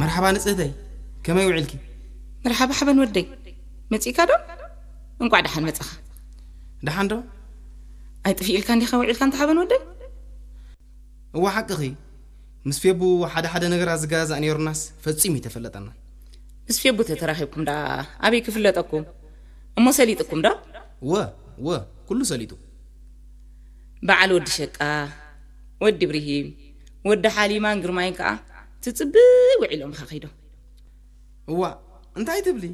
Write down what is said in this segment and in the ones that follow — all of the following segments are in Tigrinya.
መርሓባ ንጽህተይ፣ ከመይ ውዒልኪ? መርሓባ ሓበን ወደይ፣ መጺእካ ዶ? እንቋዕ ደሓን መጻኻ። ደሓን ዶ? ኣይጥፊእልካ እንዲኻ ውዒልካ እንተ ሓበን ወደይ? እዋ ሓቅኺ፣ ምስ ፌቡ ሓደ ሓደ ነገራት ዝገዛዛእ ነይሩናስ ፈጺሙ ይተፈለጠና። ምስ ፌቡ ተተራኺብኩም ደኣ ኣበይ ክፍለጠኩም? እሞ ሰሊጥኩም ዶ? ወ፣ ወ፣ ኩሉ ሰሊጡ። በዓል ወዲ ሸቃ፣ ወዲ ብርሂም፣ ወዲ ሓሊማን ግርማይን ከኣ ትጽብእ ውዒሎም ኢኻ ከይዶም። እዋ፣ እንታይ ትብሊ?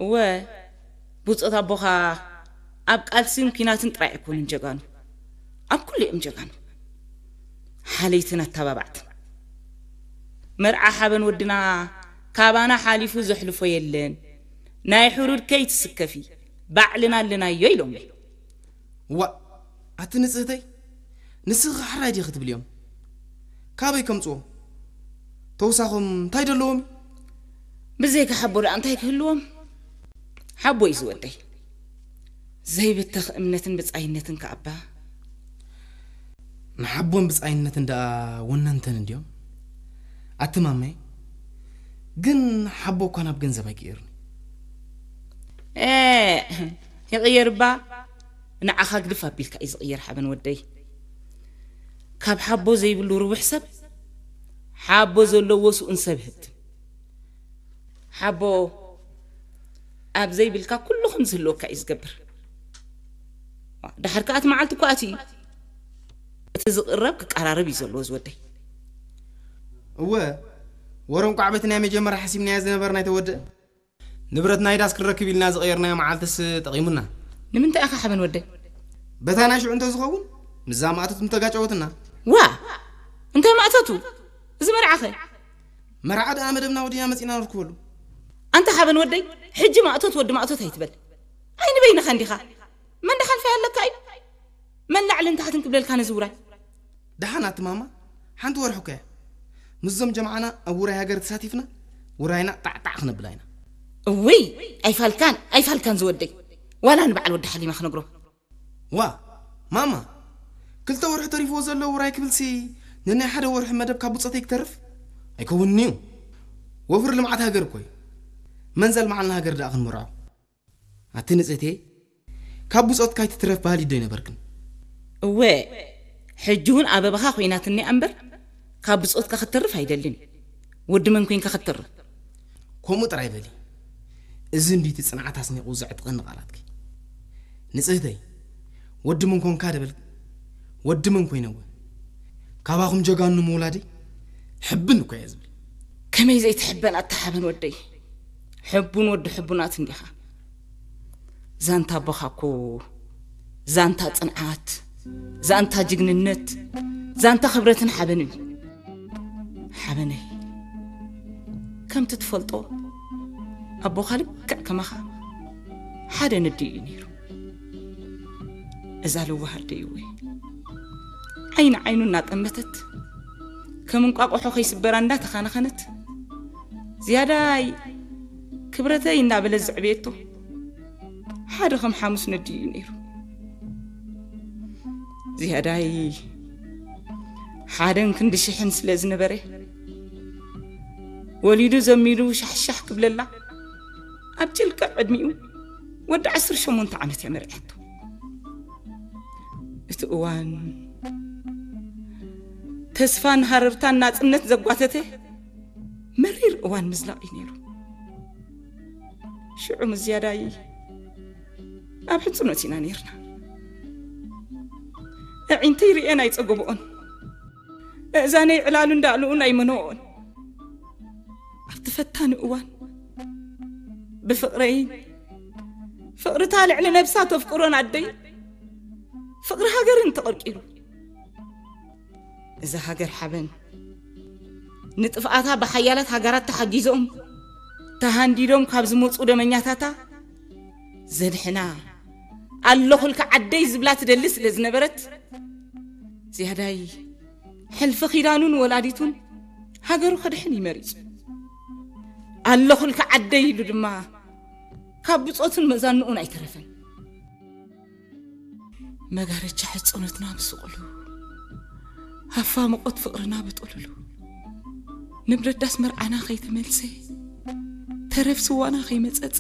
እወ፣ ብጾት ኣቦኻ ኣብ ቃልስን ኲናትን ጥራይ ኣይኮኑን ጀጋኑ። ኣብ ኩሉ እዮም ጀጋኑ። ሓለይትን ኣተባባዕትን። መርዓ ሓበን ወድና ካባና ሓሊፉ ዘሕልፎ የለን። ናይ ሕሩድ ከይትስከፊ፣ ባዕልና ኣለናዮ ኢሎምኒ። እዋ፣ ኣቲ ንጽህተይ፣ ንስኺ ሓራይ ዲኺ ትብልዮም? ካበይ ከምጽዎ? ተውሳኾም እንታይ ደለዎም? ብዘይካ ሓቦ ደኣ እንታይ ክህልዎም? ሓቦ እዩ ዝወደይ። ዘይብተኽ እምነትን ብጻይነትን ከኣባ። ንሓቦን ብጻይነትን ደኣ ወነንተን እንድዮም? ኣቲ ማመይ፣ ግን ሓቦ እኳ ናብ ገንዘብ ኣይቅየርን። ኤ፣ ይቕየር እባ። ንዓኻ ግድፍ ኣቢልካ እዩ ዝቕየር ሓበን ወደይ። ካብ ሓቦ ዘይብሉ ርቡሕ ሰብ፣ ሓቦ ዘለዎ ስኡን ሰብ ህብትም። ሓቦ ኣብ ዘይብልካ ኩሉ ከም ዝህልወካ እዩ ዝገብር። ድሓር ከኣ እቲ መዓልቲ እኮ ኣትዩ እዩ። እቲ ዝቕረብ ክቀራረብ እዩ ዘለዎ ዝወደይ። እወ፣ ወረ እንቋዕ በቲ ናይ መጀመርያ ሓሲብናዮ ዝነበርና ኣይተወድእን። ንብረት ናይ ዳስ ክንረክብ ኢልና ዝቐየርናዮ መዓልትስ ጠቒሙና። ንምንታይ ኢኻ ሓበን ወደይ? በታ ናይ ሽዑ እንተዝኸውን፣ ምስዛ ማእቶት ምተጋጨወትና። ዋ! እንታይ ማእቶቱ? እዚ መርዓኸ? መርዓ ደኣ መደብና ወዲና መጺና ንርክበሉ። ኣንታ ሓበን ወደይ፣ ሕጂ ማእቶት ወዲ ማእቶት ኣይትበል። ኣይ ንበይንኻ እንዲኻ። መን ደሓልፋ ኣለካ እዩ? መን ላዕልን ታሕትን ክብለልካ ነዚ ውራይ? ደሓን ኣቲ ማማ፣ ሓንቲ ወርሒ እኮ እያ። ምስዞም ጀማዓና ኣብ ውራይ ሃገር ተሳቲፍና፣ ውራይና ጣዕጣዕ ክነብላ ኢና። እውይ፣ ኣይፋልካን፣ ኣይፋልካን ዝወደይ። ዋላ ንበዓል ወዲ ሓሊማ ክነግሮ። ዋ፣ ማማ፣ ክልተ ወርሒ ተሪፍዎ ዘሎ ውራይ ክብልሲ፣ ንናይ ሓደ ወርሒ መደብ ካብ ብጾተይ ክተርፍ? ኣይከውንን እዩ። ወፍሪ ልምዓት ሃገር እኮ እዩ። መን ዘልምዓልና ሃገር ደኣ ክንመርዖ? ኣቲ ንጽህቴ፣ ካብ ብጾትካ ኣይትትረፍ በሃሊት ዶ ኣይነበርክን? እወ፣ ሕጂ እውን ኣበባኻ ኮይናትኒ እምበር፣ ካብ ብጾትካ ክትተርፍ ኣይደልን። ወዲ መን ኮይንካ ክትተርፍ? ከምኡ ጥራይ በሊ። እዚ እንድዩ እቲ ጽንዓት ኣስኒቑ ዘዕጥቐኒ ቃላትኪ። ንጽህተይ፣ ወዲ መን ኮንካ ደበልኪ? ወዲ መን ኮይነወ? ካባኹም ጀጋኑ ምውላደይ ሕብን እኮ እየ ዝብል። ከመይ ዘይትሕበን ኣታ ሓበን ወደይ? ሕቡን ወዲ ሕቡናት እንዲኻ። ዛንታ ኣቦኻ እኮ ዛንታ ጽንዓት፣ ዛንታ ጅግንነት፣ ዛንታ ክብረትን ሓበንን እዩ። ሓበነይ፣ ከምቲ ትፈልጦ ኣቦኻ ልክዕ ከማኻ ሓደ ነዲ እዩ ነይሩ። እዛ ለዋህ ኣደይ እወ፣ ዓይኒ ዓይኑ እናጠመተት፣ ከም እንቋቑሖ ከይስበራ እንዳተኻነኸነት፣ ዝያዳይ ክብረተይ እናበለት ዘዕበየቶ ሓደ ከም ሓሙስ ነዲ እዩ ነይሩ። ዝያዳይ ሓደን ክንዲ ሽሕን ስለ ዝነበረ፣ ወሊዱ ዘሚዱ ሻሕሻሕ ክብለላ፣ ኣብ ጭልቅዕ ዕድሚኡ ወዲ ዓሰርተ ሸሞንተ ዓመት እያ መርዕያቶ። እቲ እዋን ተስፋን ሃረርታን ናጽነት ዘጓተተ መሪር እዋን ምዝላቕ እዩ ነይሩ። ሽዑ ምስ ዝያዳይ ኣብ ሕጽኖት ኢና ነይርና። ኣዒንተይ ርእየን ኣይጸገበኦን። ኣእዛነይ ዕላሉ እንዳእልኡን ኣይመንኦን። ኣብቲ ፈታኒ እዋን ብፍቕረይን ፍቕርታ ልዕሊ ነብሳ ተፍቅሮን ኣደይ ፍቕሪ ሃገርን ተቐርቂሩ። እዛ ሃገር ሓበን ንጥፍኣታ ብሓያላት ሃገራት ተሓጊዞም ተሃንዲዶም ካብ ዝመጹ ደመኛታታ ዘድሕና ኣለኹልካ ዓደይ ዝብላ ትደሊ ስለ ዝነበረት፣ ዝያዳይ ሕልፊ ኺዳኑን ወላዲቱን ሃገሩ ከድሕን እዩ መሪጹ። ኣለኹልካ ዓደይ ኢሉ ድማ ካብ ብጾቱን መዛንኡን ኣይተረፈን። መጋረጃ ሕጽኖትና ብስቕሉ፣ ሃፋ ሙቐት ፍቕርና ብጥሉሉ፣ ንብረት ዳስ መርዓና ከይተመልሰ፣ ተረፍ ስዋና ከይመጸጸ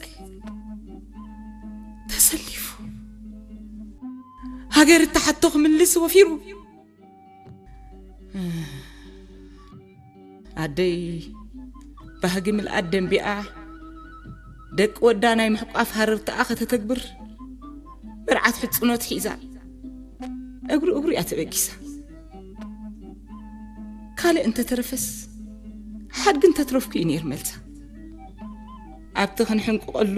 ተሰሊፉ፣ ሃገር እተሓቶ ክምልስ ወፊሩ። ኣደይ ባህጊ ምልኣት ደንቢኣ፣ ደቂ ወዳ ናይ ምሕቋፍ ሃረርታኣ ከተተግብር፣ መርዓት ሕጽኖት ሒዛ እግሩ እግሩ እያ ተበጊሳ። ካልእ እንተተረፈስ፣ ሓድጊ እንተትረፍኩ እዩ ነይሩ መልሳ። ኣብቲ ክንሕንቅቐሉ፣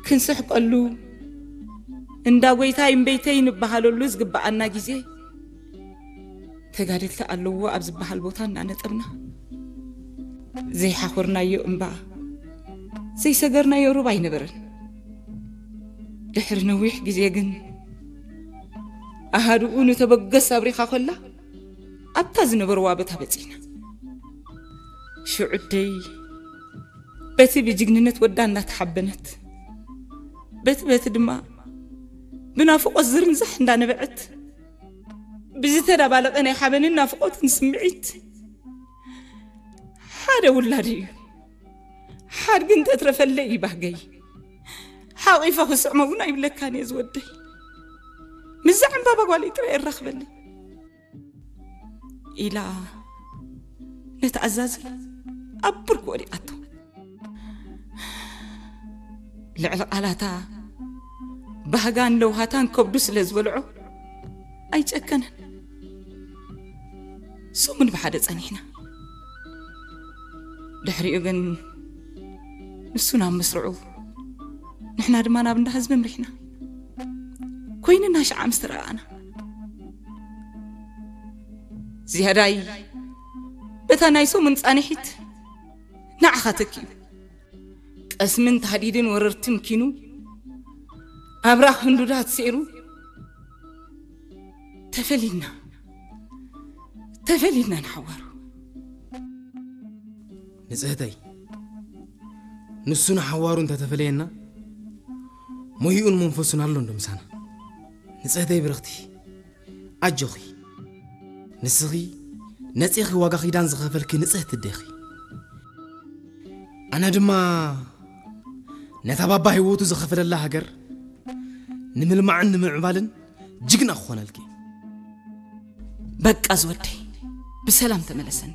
ክንስሕቀሉ፣ እንዳ ጎይታይ እምበይተይ ንበሃለሉ ዝግብኣና ግዜ፣ ተጋደልቲ ኣለዎ ኣብ ዝበሃል ቦታ እናነጠብና፣ ዘይሓኾርናዮ እምባ፣ ዘይሰገርናዮ ሩባ ኣይነበረን። ድሕሪ ነዊሕ ግዜ ግን፣ ኣሃዱኡ ንተበገስ ኣብሪኻ ኮላ፣ ኣብታ ዝነበርዋ ቦታ በጺሕና። ሽዑ ኣደይ በቲ ብጅግንነት ወዳ እናተሓበነት፣ በቲ በቲ ድማ ብናፍቖት ዝርንዛሕ እንዳነበዐት፣ ብዝተዳባለቐ ናይ ሓበንን ናፍቖትን ስምዒት፣ ሓደ ውላድ እዩ፣ ሓድጊ እንተትረፈለይ እዩ ባህገይ፣ ሓቒፈ ክስዕሞ እውን ኣይብለካን እየ ዝወደይ፣ ምስዛ ዕምባባ ጓለይ ጥራይ የራኽበለይ ኢላ ነቲ ኣዛዚ ኣብ ብርኩ ወዲቓቶ። ልዕሊ ቃላታ ባህጋን ለውሃታን ከብዱ ስለ ዝበልዖ ኣይጨከነን። ሰሙን ብሓደ ጸኒሕና። ድሕሪኡ ግን ንሱ ናብ ምስርዑ፣ ንሕና ድማ ናብ እንዳ ህዝቢ ኣምሪሕና። ኮይንና ሽዓ ምስ ተረኣኣና፣ ዝያዳይ በታ ናይ ሰሙን ጻንሒት ንዓኻ ተኪኡ፣ ጠስምን ታህዲድን ወረርትን ኪኑ፣ ኣብራኽ ህንዱዳት ሰይሩ፣ ተፈሊና፣ ተፈሊና ንሓዋሩ። ንጽህተይ፣ ንሱ ንሓዋሩ እንተተፈለየና፣ ሞይኡን መንፈሱን ኣሎ እንዶ ምሳና። ንጽህተይ ብርኽቲ፣ ኣጆኺ። ንስኺ ነጺኺ ዋጋ ኪዳን ዝኸፈልኪ ንጽህቲ ኣዴኺ። ኣነ ድማ ነታ ባባ ህይወቱ ዝኸፈለላ ሃገር ንምልማዕን ንምዕባልን ጅግና ክኾነልኪ። በቃ ዝወደይ፣ ብሰላም ተመለሰኒ።